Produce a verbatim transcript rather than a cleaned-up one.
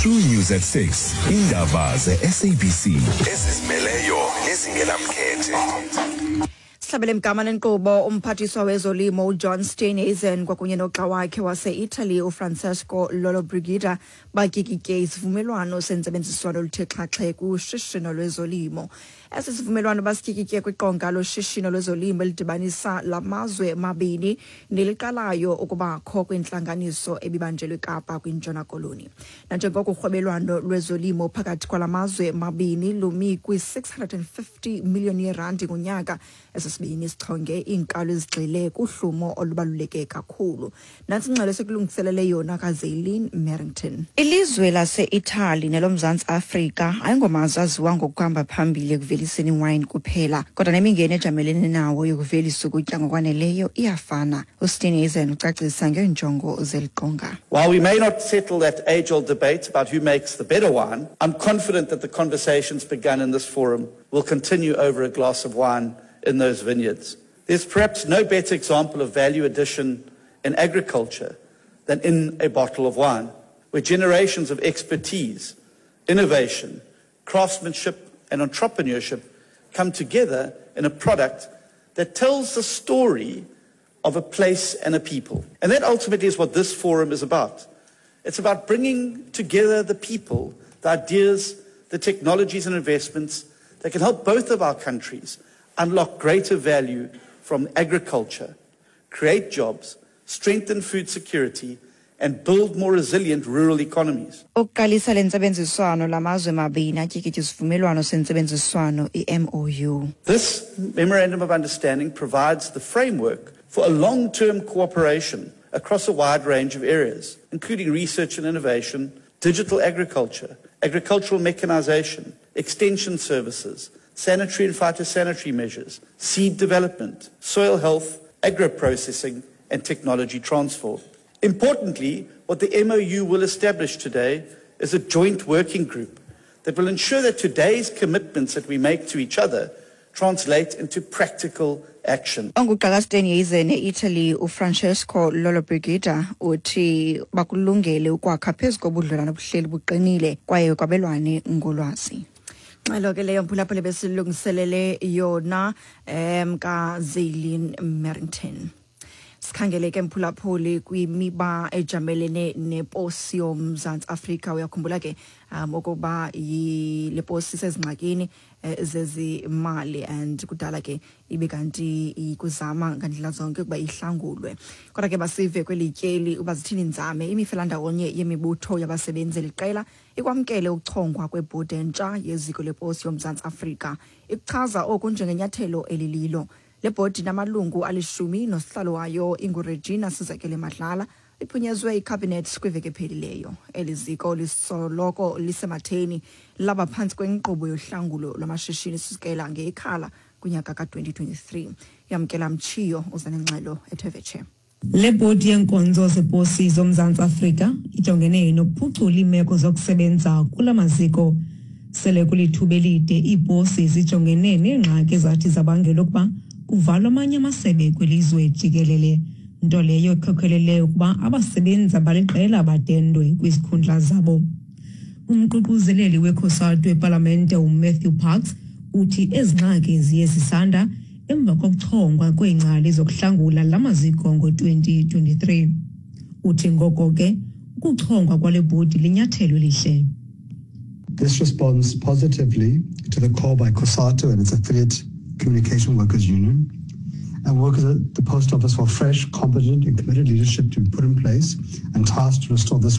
True News at six. Indaba ze-S A B C ezizimeleyo nezingenamkhethe. Sihlabele mgama nenkqubo. Umphathiswa wezolimo uJohn Steenhuisen kwakunye nogxa wakhe wase-Italy uFrancesco Lollobrigida batyikitye isivumelwano sentsebenziswano oluthe xhaxhe kushishino lwezolimo. Esi sivumelwano basityikitye kwiqonga loshishino lwezolimo elidibanisa la mazwe mabini neliqalayo ukubakho kwintlanganiso ebibanjelwe eKapa kwiNtshona Koloni. Nanjengoko urhwebelwano lwezolimo phakathi kwala mazwe mabini lumi kwi-six hundred and fifty million yerandi ngonyaka, esi sibini sichonge iinkalo ezigxile kuhlumo olubaluleke kakhulu. Nantsi ingxelo esikulungiselele yona kaZaylin Merrington. Ilizwe lase-Italy neloMzantsi Afrika ayingomazwe aziwa ngokuhamba phambili ekuveliseni iwayini kuphela, kodwa nemingeni ejamelene nawo yokuvelisa ukutya ngokwaneleyo iyafana. USteenhuisen ucacisa ngeenjongo zeli qonga. While we may not settle that age old debate about who makes the better wine, I'm confident that the conversations begun in this forum will continue over a glass of wine in those vineyards. There's perhaps no better example of value addition in agriculture than in a bottle of wine, where generations of expertise, innovation, craftsmanship, and entrepreneurship come together in a product that tells the story of a place and a people. And that ultimately is what this forum is about. It's about bringing together the people, the ideas, the technologies and investments that can help both of our countries unlock greater value from agriculture, create jobs, strengthen food security, and build more resilient rural economies. Ukuqalisa le ntsebenziswano, lamazwe mabini atyikitya isivumelwano sentsebenziswano, i-M O U. This Memorandum of Understanding provides the framework for a long-term cooperation across a wide range of areas, including research and innovation, digital agriculture, agricultural mechanization, extension services, sanitary and phytosanitary measures, seed development, soil health, agro-processing, and technology transfer. Importantly, what the M O U will establish today is a joint working group that will ensure that today's commitments that we make to each other translate into practical action. Ongugxa kaSteenhuisen e-Italy uFrancesco Lollobrigida uthi bakulungele ukwakha phezu kobudlelwane obuhleli buqinile kwaye kwabelwane ngolwazi. Ngxelo ke leyo, mphulaphula, besilungiselele yona um kaZaylin Merrington. Sikhangele ke, mphulaphuli, kwimiba ejamelene neposi yoMzantsi Afrika. Uyakhumbula ke um ukuba le posi isezingxakini eh, zezimali and kudala ke ibe kanti ikuzama ngandlela zonke ukuba ihlangulwe. Kodwa ke basive kweli tyeli uba zithini inzame. Imifelandawonye yemibutho yabasebenzi liqela ikwamkele ukuchongwa kwebhodi entsha yeziko leposi yoMzantsi Afrika, ikuchaza oku njengenyathelo elililo. Le bhodi namalungu alishumi nosihlalo wayo inguRegina Sizakele Madlala iphunyezwe ikhabhinethi kwiveki ephelileyo. Eli ziko lisoloko lisematheni laba phantsi kwenkqubo yohlangulo lwamashishini sukela ngeikhala kunyaka ka-twenty twenty-three. Yamkela Mtshiyo uza nengxelo ethe vetshe. Le bhodi yeenkonzo zeposi zoMzantsi Afrika ijongene nokuphucula iimeko zokusebenza kula maziko. Sele kulithuba elide iiposi zijongene neengxaki ezathi zabangela ukuba kuvalwe amanye amasebe kwilizwe jikelele, nto leyo ekhokhelele ukuba abasebenzi abaliqela badendwe kwizikhundla zabo. Umququzeleli weCOSATU epalamente uMatthew Parks uthi ezi ngxaki ziye zisanda emva kokuchongwa kweengcali zokuhlangula la maziko ngo-twenty twenty-three. Uthi ngoko ke ukuchongwa kwale bhodi linyathelo elihle. This responds positively to the call by COSATU and its affiliate Communication Workers Union and workers at the Post Office for fresh, competent and committed leadership to be put in place and tasked to restore this